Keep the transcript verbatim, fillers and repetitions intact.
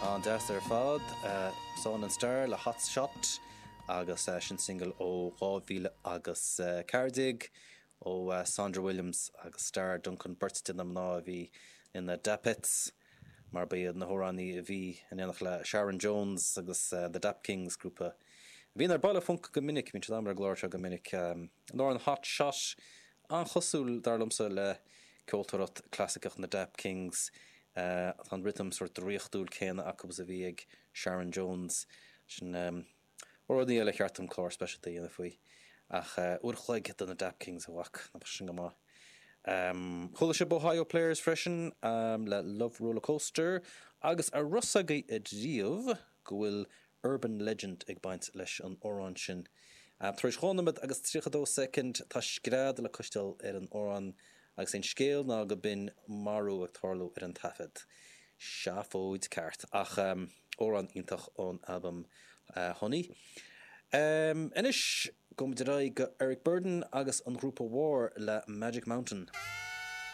An-deas ar fad, Saun and Starr le Hot Shot agus sin single ó dhá mhíle agus ceathair déag ó Sandra Williams agus Starr Duncan, beirt de na mná a bhí ina Dapettes mar ba iad na hamhránaí a bhí in éineacht le Sharon Jones agus The Dap Kings, grúpa a bhíonn ar Baile Func go minic, bíonn siad ar an gclár seo go minic. An amhrán Hot Shot an-chosúil, dar liomsa, le ceoltóireacht clasaiceach na Dap Kings. Tá an rithim sórt draíochtúil céanna acu is a bhí ag Sharon Jones. Sin rudaí eile cheart dom clár speisialta a dhéanamh faoi. Ach uair a chloig do na Dap Kings, a mhac, nach bhfuil sin go maith. Chuala sibh Ohio Players freisin le Love Roller Coaster agus an raibh fhios agaibh riamh go bhfuil urban legend ag baint leis an amhrán sin. Tar éis dhá nóiméad agus tríocha dó soicind tá scread le cloisteáil ar an amhrán agus é an scéal ná go b'in marú ag tarlú ar an taifead. Seafóid ceart, ach amhrán iontach ón albam Honey. Anois, gabhfaidh muid ar aghaidh go Eric Burdon agus an ghrúpa War le Magic Mountain.